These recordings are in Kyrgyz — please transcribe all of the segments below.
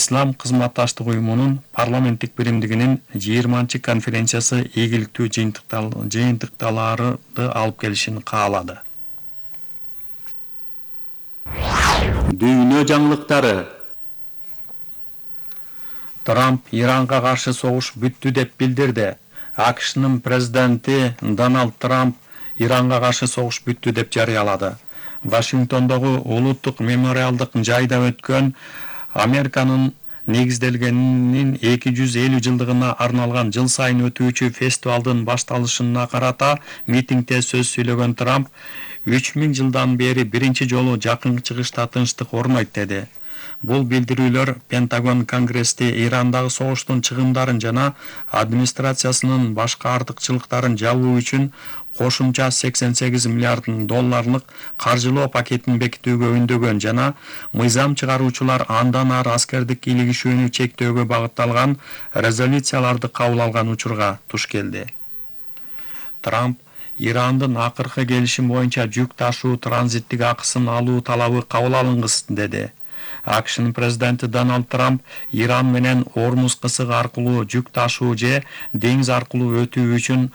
Ислам кызматташтык уюмунун парламенттик биримдигинин 20-чы конференциясы ийгиликтүү жыйынтыктарды алып келишин каалады. Дүйнө жаңылыктары. Трамп Иранга каршы согуш бүттү деп билдирди. АКШнын президенти Дональд Трамп Иранга каршы согуш бүттү деп жарыялады. Вашингтондогу улуттук мемориалдык жайда өткөн Американын негизделгенинин 250 жылдыгына арналган жыл сайын өтүүчү фестивалдын башталышына карата митингде сөз сүйлөгөн Трамп 3000 жылдан бери биринчи жолу Жакын Чыгышта тынчтык орнойт деди. Бул билдирүүлөр Пентагон Конгрессте Ирандагы согуштун чыгымдарын жана администрациясынын башка артыкчылыктарын жабуу үчүн кошумча 88 миллиард долларлык каржылоо пакетин бекитүүгө үндөгөн жана мыйзам чыгаруучулар андан ары аскердик илигишүүнү чектөөгө багытталган резолюцияларды кабыл алган учурга туш келди. Трамп Ирандын акыркы келишим боюнча жүк ташуу транзиттик акысын алуу талабы кабыл алынгыс деди. АКШнын президенти Дональд Трамп Иран менен Ормуз кысыгы аркылуу жүк ташуу же деңиз аркылуу өтүү үчүн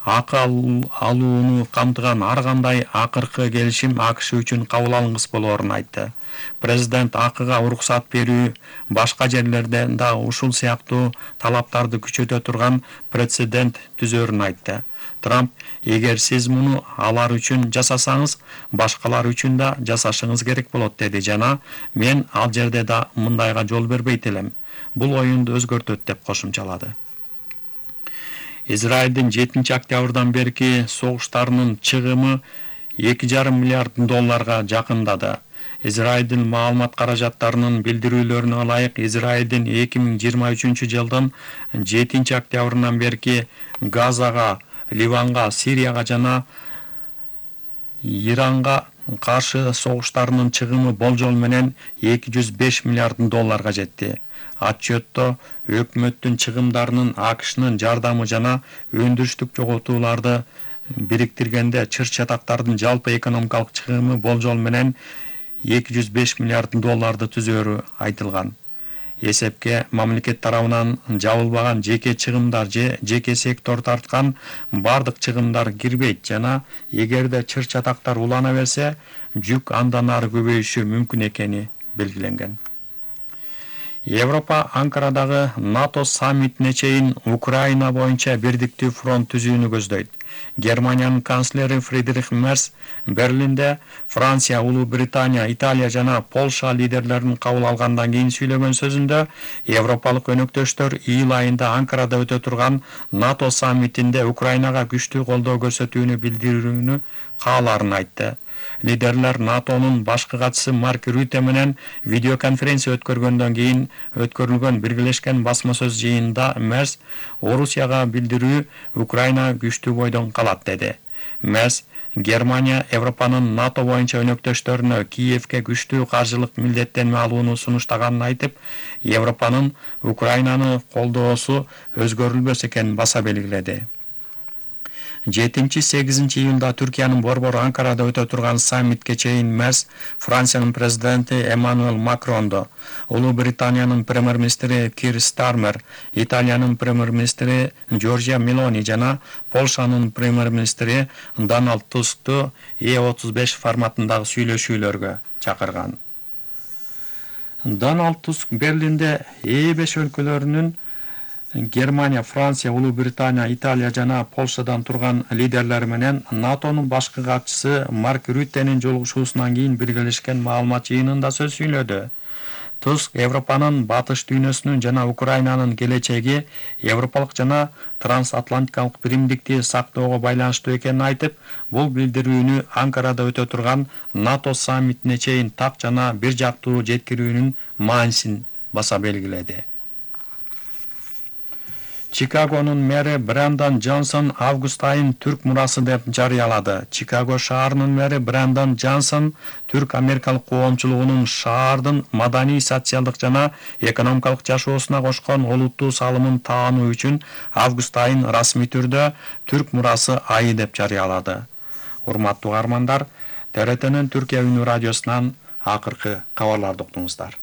акы алууну камтыган ар кандай акыркы келишим АКШ үчүн кабыл алынгыс болоорун айтты. Президент акыга уруксат берүү башка жерлерде да ушул сыяктуу талаптарды күчөтө турган прецедент түзөрүн айтты. Трамп: эгер сиз муну алар үчүн жасасаңыз, башкалар үчүн да жасашыңыз керек болот деди жана мен ал жерде да мындайга жол бербейт элем. Бул оюнду өзгөртөт деп кошумчалады. Израилдин 7-октябрдан берки согуштарынын чыгымы 2,5 миллиард долларга жакындады. Израилдин маалымат каражаттарынын билдирүүлөрүнө ылайык, Израилдин 2023 жылдын 7-октябрынан берки Газага, Ливанга, Сирияга жана Иранга каршы согуштарынын чыгымы болжол менен 205 миллиард долларга жетти. Отчетто өкмөттүн чыгымдарынын АКШнын жардамы жана өндүрүштүк жоготууларды бириктиргенде чыр-чатактардын жалпы экономикалык чыгымы болжол менен 205 миллиард долларды түзөрү айтылган. Эсепке мамлекет тарабынан жабылбаган жеке чыгымдар же жеке сектор тарткан бардык чыгымдар кирбейт жана эгерде чыр-чатактар улана берсе, жүк андан ары көбөйүшү мүмкүн экени белгиленген. Европа Анкарадагы НАТО саммитине чейин Украина боюнча бирдиктүү фронт түзүүнү көздөйт. Германиянын канцлери Фридрих Мерц Берлинде Франция, Улуу Британия, Италия жана Польша лидерлерин кабыл алгандан кийин сүйлөгөн сөзүндө европалык өнөктөштөр июль айында Анкарада өтө турган НАТО саммитинде Украинага күчтүү колдоо көрсөтүүнү билдирүүнү каалаарын айтты. Лидерлер НАТОнун башкы катчысы Марк Рюте менен видеоконференция өткөргөндөн кийин өткөрүлгөн биргелешкен басма сөз жыйынында Мерц Орусияга билдирүү Украина күчтүү бойдон калат деди. Мерц Германия Европанын НАТО боюнча өнөктөштөрүнө Киевке күчтүү каржылык милдеттенме алууну сунуштаганын айтып, Европанын Украинаны колдоосу өзгөрүлбөс экенин баса белгиледи. 7-8 июнда Түркиянын борбору Анкарада өтө турган саммитке чейин Мерц Франциянын президенти Эммануэл Макрондо, Улуу Британиянын премьер-министри Кир Стармер, Италиянын премьер-министри Джорджия Мелони жана Польшанын премьер-министри Дональд Тускту E35 форматындагы сүйлөшүүлөргө чакырган. Дональд Туск Берлинде E5 өлкөлөрүнүн Германия, Франция, Улуу Британия, Италия жана Польшадан турган лидерлери менен НАТОнун башкы катчысы Марк Рюттенин жолугушуусунан кийин биргелешкен маалымат жыйынында сөз сүйлөдү. Туск Европанын батыш дүйнөсүнүн жана Украинанын келечеги европалык жана трансатлантикалык биримдикти сактоого байланыштуу экенин айтып, бул билдирүүнү Анкарада өтө турган НАТО саммитине чейин так жана бир жактуу жеткирүүнүн маанисин баса белгиледи. Чикагонун мэри Брэндон Джонсон август айын түрк мурасы деп жарыялады. Чикаго шаарынын мэри Брэндон Джонсон түрк америкалык коомчулугунун шаардын маданий, социалдык жана экономикалык жашоосуна кошкон олуттуу салымын таануу үчүн август айын расмий түрдө түрк мурасы айы деп жарыялады. Урматтуу угармандар, ТРТнын Түркия үнү радиосунан акыркы кабарларды уктуңуздар.